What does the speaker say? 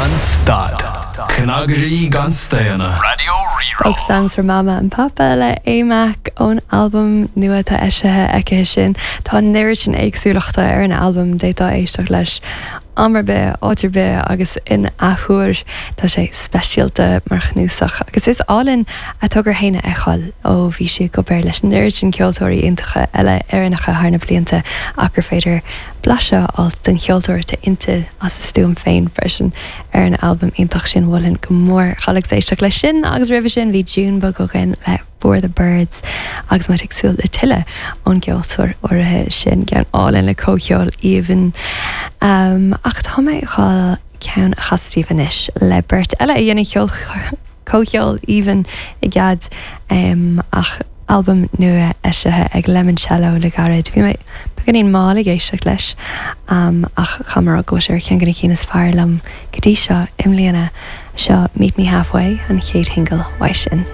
Gan stad, cnagairí gan staonadh. Raidió Rí-Rá. Folk Songs for Mama and Papa le A-Mac ón albam nua atá eisithe aici sin. Tá an oiread sin éagsúlachta ar an albam, d'fhéadfá éisteacht leis am ar bith, áit ar bith agus in athuair. Tá sé speisialta mar chnuasach agus is álainn a togra féin a fheiceáil ó bhí sí ag obair leis an oiread sin ceoltóirí iontacha eile Éireannacha thar na blianta ach gur féidir blaiseadh a fháilt den cheoltóir atá inti as a stuaim féin freisin ar an albam iontach sin. Mholfainn go mór dhul agus éisteacht leis sin agus roimhe sin bhí Junebug againn le For the Birds agus muid ag súil le tuilleadh ón gceoltóir áirithe sin, ceann álainn le comhcheol aoibhinn. Ach tá mé ag dhul ceann a chasadh daoibh anois le beirt eile a dhéanann ceol comhcheol aoibhinn i gcead ach albam nua eisithe ag Lemoncello le gairid. Bhí mé beagáinín mall ag éisteacht leis ach caithfidh mé a rá go bhfuil sé ar cheann de na cinn is fearr liom go dtí seo i mbliana. Seo Meet Me Halfway, an chéad shingil uaidh sin.